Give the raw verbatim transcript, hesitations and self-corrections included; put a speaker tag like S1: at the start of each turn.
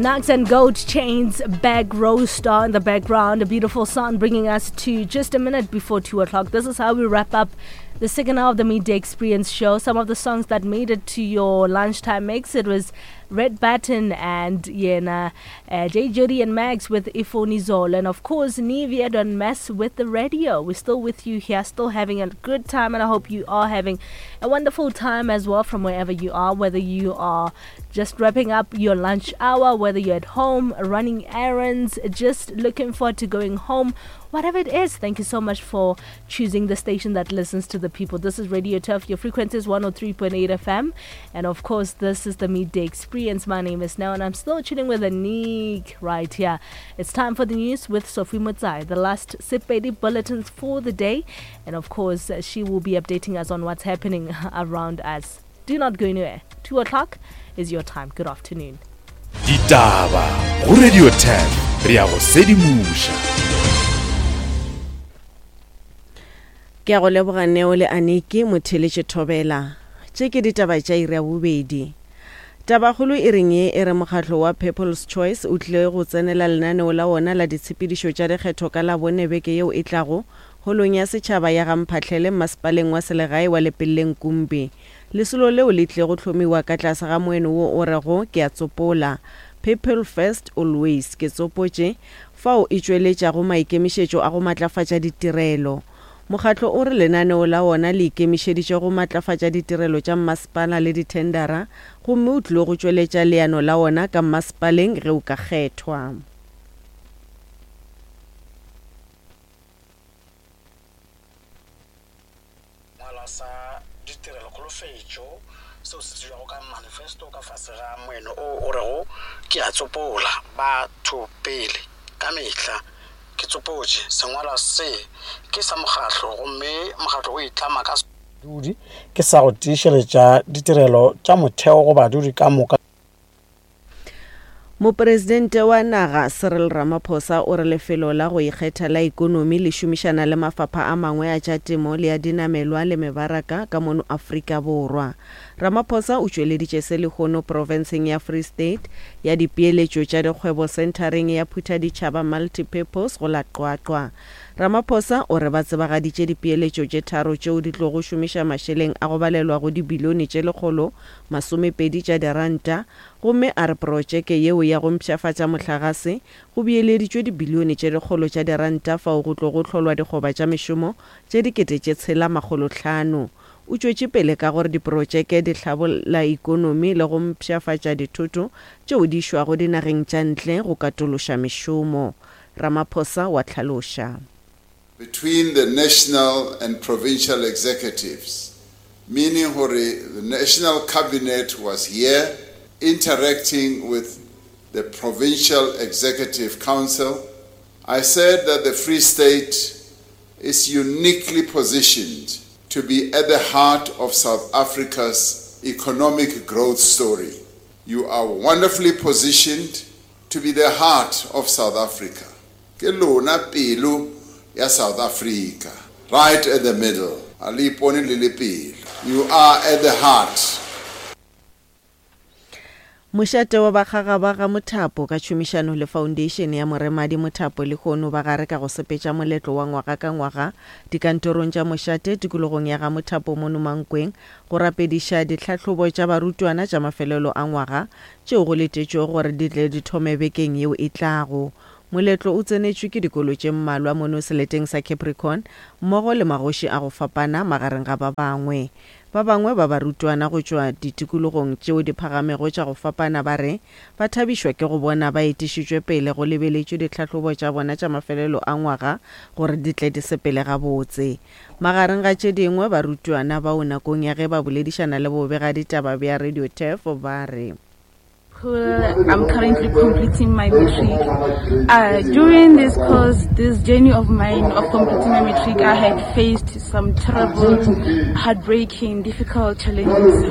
S1: Nugs and Gold Chains, Back Row Star in the background. A beautiful song bringing us to just a minute before two o'clock. This is how we wrap up the second hour of the Midday Experience show. Some of the songs that made it to your lunchtime mix, it was Red Button and Yena, uh, J. Judy and Max with Ifoni Zol, and of course Nivea Don't Mess with the Radio. We're still with you here, still having a good time, and I hope you are having a wonderful time as well from wherever you are, whether you are just wrapping up your lunch hour, whether you're at home running errands, just looking forward to going home, whatever it is. Thank you so much for choosing the station that listens to the people. This is Radio Turf. Your frequency is one oh three point eight F M, and of course this is the Midday Experience. My name is Nell, and I'm still chilling with Anik right here. It's time for the news with Sophie Motsai, the last Sepedi bulletins for the day, and of course she will be updating us on what's happening around us. Do not go anywhere. Two o'clock is your time. Good afternoon.
S2: Ditaba go Radio ten re ya go sedimoša.
S3: Ke a go leboga Neo le Aniki motheletše Thobela. Tše ke ditaba tša iri ya bobedi. Tabakgolo e reng ye e re mokgatlo wa People's Choice o tlile go tsenela lenaneo la wona la ditshepedišo tša dikgetho ka Labone beke yeo e tlago holong ya setšhaba ya Gamphahlele masepaleng wa selegae wa Lepelleng Kumbi. Lesolo leo le tlile go hlomiwa ka tlase ga moeno wo o rego ke a tsopola People First Always, ke tsopotše, fao e tšweletšago maikemišetšo a go matlafatša ditirelo. Mokgatlo o re lenaneo la wona le ikemišeditše go matlafatša ditirelo tša mmasepala le dithendara, gomme o tlile go tšweletša leano la wona ka mmasepaleng ge o ka kgethwa.
S4: Ngwala sa ditirelo kholofetšo seo se tsebjago ka manifesto ka fase ga moeno o o rego ke a tsopola batho pele ka mehla. Ke tsopotše sengwalwa se ke sa mokgatlo, gomme mokgatlo o itlama ka badudi ke sa go tiišeletša ditirelo tša motheo go badudi ka moka.
S3: Mopresidente wa naga Cyril Ramaphosa o re lefelo la go ikgetha la ikonomi le šomišana le mafapha a mangwe a tša temo le a dinamelwa le mebaraka ka mono Afrika Borwa. Ramaphosa o tšweleditše se lehono profenseng ya Free State ya dipeeletšo tša dikgwebo centereng ya Phuthaditšhaba Multipurpose go la Qwaqwa. Ramaphosa o re ba tsebagaditše dipeeletšo tše tharo tšeo di tlogo šomiša mašeleng a go balelwa go dibilione tše lekgolo masomepedi tša diranta, gomme a re projeke yeo ya go mpshafatša mohlagase go beeleditšwe dibilione tše lekgolo tša diranta fao go tlo go hlolwa dikgoba tša mešomo tše dikete tše tshela makgolo hlano. O tšwetše pele ka gore diprojeke di hlabolla ikonomi le go mpshafatša dithoto tšeo di išwago dinageng tša ntle go katološa mešomo. Ramaphosa wa hlaloša.
S5: Between the national and provincial executives, meaning gore the national cabinet was here interacting with the provincial executive council. I said that the Free State is uniquely positioned to be at the heart of South Africa's economic growth story. You are wonderfully positioned to be the heart of South Africa. Ke lona pelo ya South Africa, right at the middle. A le ipone le le pelo. You are at the heart.
S3: Mošate wa bakgaga ba ga Mothapo ka tšhomišano le Foundation ya Moremadi Mothapo lehono ba gare ka go sepetša moletlo wa ngwaga ka ngwaga dikantorong tša mošate tikologong ya ga Mothapo mono Mankweng go rapediša ditlhahlobo tša barutwana tša mafelelo a ngwaga tšeo go letetšwego gore di tle di thome bekeng yeo e tlago. Moletlo o tsenetšwe ke dikolo tše mmalwa mono seleteng sa Capricorn mmogo le magoši a go fapana magareng ga ba bangwe. Ba bangwe ba barutwana go tšwa ditikologong tšeo di phagamego tša go fapana ba re ba thabišwa ke go bona ba etišitšwe pele go lebeletšwe ditlhahlobo tša bona tša mafelelo a ngwaga gore di tle di sepele gabotse. Magareng ga tše dingwe barutwana bao nakong ya ge ba boledišana le bobegaditaba bja Radio Turf ba re
S6: I'm currently completing my matric. Uh, during this course, this journey of mine of completing my matric, I had faced some terrible, heartbreaking, difficult challenges.